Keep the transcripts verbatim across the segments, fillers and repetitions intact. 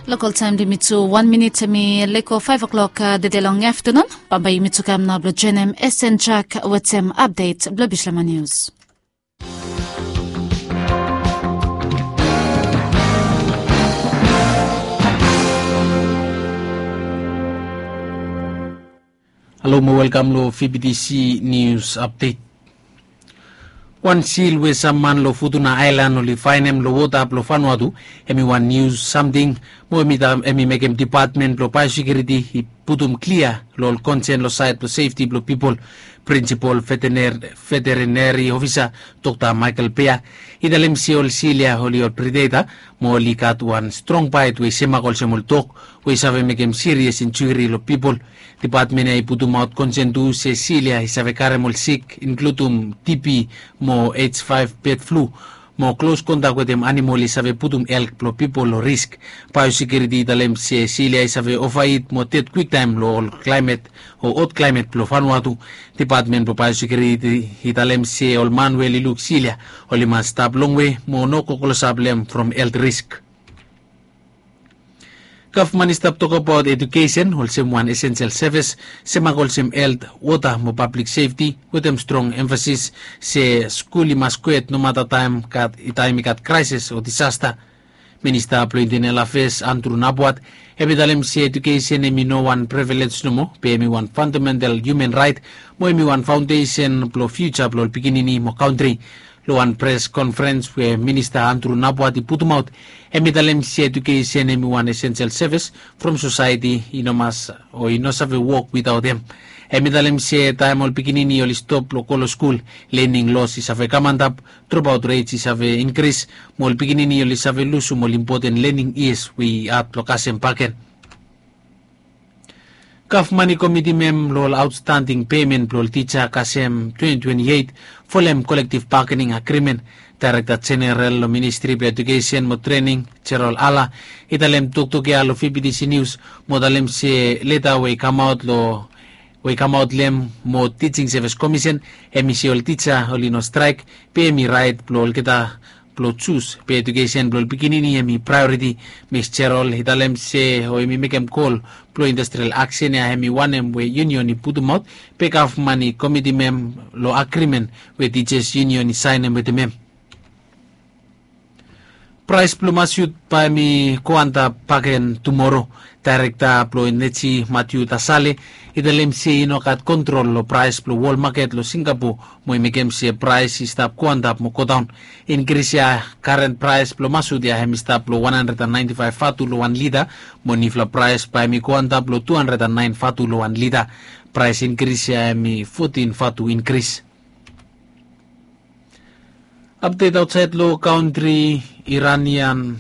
Lokal taem blong yumi tu wan minit hemi leko faef oklok dede long aftanun. Bambae yumi tu kam nao blong joenem Esen Trak wetem apdet blong Bislama Nius. Halo mo welkam long V B T C News Update. Wan sil we sam man long Futuna Aelan oli faenem long wota blong Vanuatu, hemi wan niu samting mo hemi mekem Depatmen blong Baeosekiuriti i putum klia long ol konsen long saed blong sefti blong pipol. Prinsipol Vetereneri Ofisa Dokta Michael Bea i talem se ol sil ya oli ol predeta mo oli gat wan strong baet we i semak olsem ol dog we i save mekem sirias injuri long pipol. Depatmen ya i putumaot konsen tu se sil ya i save karem ol sik, inkludum TB mo H five bird flu, mo klos kontak wetem anamol i save putum elk blong pipol long risk. Baeosekiuriti i talem se sil ya i save ovaet mo ded kwiktaem long ol klaemet o hot klaemet blong Vanuatu. Depatmen blong Baeosekiuriti i talem se ol man we oli luk sil ya oli mas stap longwe mo no go klosap long hem from helt risk. Gavman i stap tokbaot edukesen olsem wan esensel sevis, semak olsem helt, wota mo pablik sefti, wetem strong emfasis se skul i mas kwet nomata taem i gat kraesis o disasta. Minista blong Intenel Afeas Andru Napuat hemi talem se edukesen hemi no wan privilej nomo, be hemi wan fandamental hiuman raet mo hemi wan faondesen blong fiuja blong ol pikinini mo kantri. Long wan pres konferens we Minista Andru Napuat i putumaot, hemi talem se edukesen hemi wan esensel sevis from sosaeti i no mas o i no save wok witaot hem. Hemi talem se taem ol pikinini oli stop blong go long skul, lening los i save kam antap, dropaot ret i save inkris, mo ol pikinini oli save lusum ol impoten lening yias we i had blong kasem bakegen. Gavman i komitim hem long ol aotstanding pemen blong ol tija kasem twenti twenti eit folem kolektiv bagening agrimen. Daerekta Jeneral long Ministri blong Edukesen mo Trening, Jerol Ala, i talem toktok ya long V B T C Nius mo talem se leta we i kamaot long we i kamaot long hem mo Tijing Sevis Komisen, hemi se ol tija oli no straek, be hemi raet blong olgeta blong jus, be edukesen blong ol pikinini hemi praeoriti. Mis Jerol i talem se o hemi mekem gol blong industrial aksen ya hemi wanem we yunion i putumaot, be gavman i komitim hem long agrimen we tijas yunion i saenem wetem hem. Praes blong masut bae hemi go antap bakegen tumoro. Daerekta blong Eneji Matiu Tasale i talem se i no gat kontrol long praes blong wol maket long Singapo mo i mekem se praes i stap go antap mo godaon. Inkris ya, karen praes blong masut ya hemi stap long wan handred an naenti faef vatu long wan lita, mo niufala praes bae hemi go antap long tu handred an naen vatu long wan lita. Praes inkris ya hemi fotin vatu inkris. Apdet aotsaed long kantri, Iranian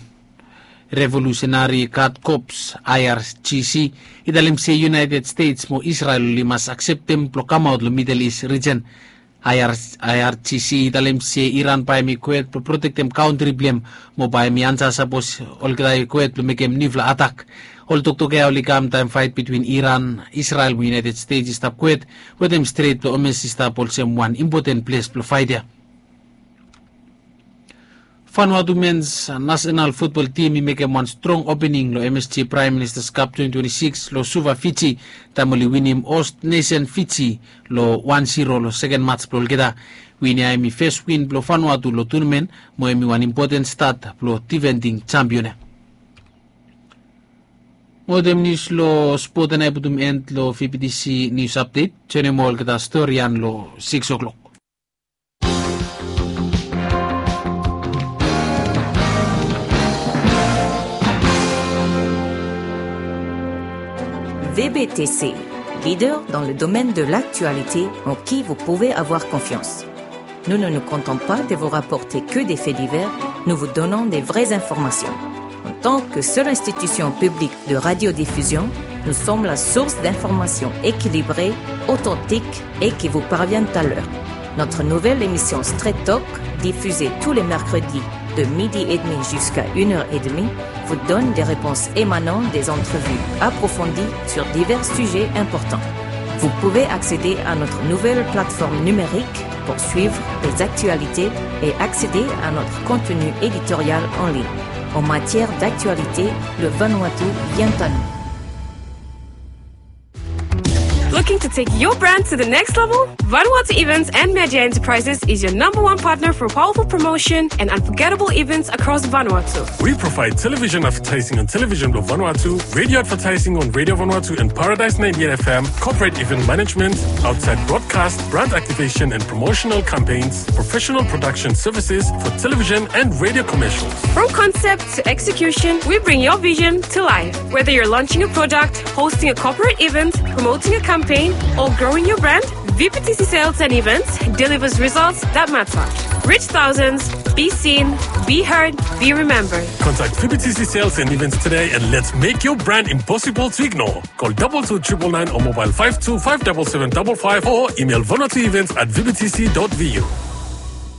Revolusenari Gad Kops, I R G C, i talem se United States mo Israel oli mas akseptem blong kamaot long Midel Is rijen. I R G C i talem se Iran bae hemi kwet blong protektem kantri blong hem mo bae hemi ansa sapos olgeta i kwet blong mekem niufala atak. Ol toktok ya oli kam taem faet bitwin Iran, Israel mo United States i stap kwet, wetem Stret blong Hormuz i stap olsem wan impoten ples blong faet ya. Vanuatu mens nasenal futbol tim i mekem wan strong opening long M S G Praem Ministas Kap twenti twenti sikis long Suva, Fiji, taem oli winim host nesen Fiji long wan siro long seken maj blong olgeta. Win ya hemi fes win blong Vanuatu long tunamen mo hemi wan impoten stat blong difending jampion ya. Mo wetem nius long spot ya nao i putum en long V B T C Nius Apdet. Joenem olgeta stori ya long sikis oklok. V B T C, leader dans le domaine de l'actualité en qui vous pouvez avoir confiance. Nous ne nous contentons pas de vous rapporter que des faits divers, nous vous donnons des vraies informations. En tant que seule institution publique de radiodiffusion, nous sommes la source d'informations équilibrées, authentiques et qui vous parviennent à l'heure. Notre nouvelle émission Straight Talk, diffusée tous les mercredis de midi et demi jusqu'à une heure et demie, vous donne des réponses émanant des entrevues approfondies sur divers sujets importants. Vous pouvez accéder à notre nouvelle plateforme numérique pour suivre les actualités et accéder à notre contenu éditorial en ligne. En matière d'actualité, le Vanuatu vient à nous. Looking to take your brand to the next level? Vanuatu Events and Media Enterprises is your number one partner for powerful promotion and unforgettable events across Vanuatu. We provide television advertising on Television Blue Vanuatu, radio advertising on Radio Vanuatu and Paradise ninety-eight F M, corporate event management, outside broadcast, brand activation and promotional campaigns, professional production services for television and radio commercials. From concept to execution, we bring your vision to life. Whether you're launching a product, hosting a corporate event, promoting a campaign, or growing your brand, V P T C Sales and Events delivers results that matter. Reach thousands, be seen, be heard, be remembered. Contact V P T C Sales and Events today and let's make your brand impossible to ignore. Call double two triple nine or mobile five two five double seven double five or email vanuatuevents at V P T C dot V U.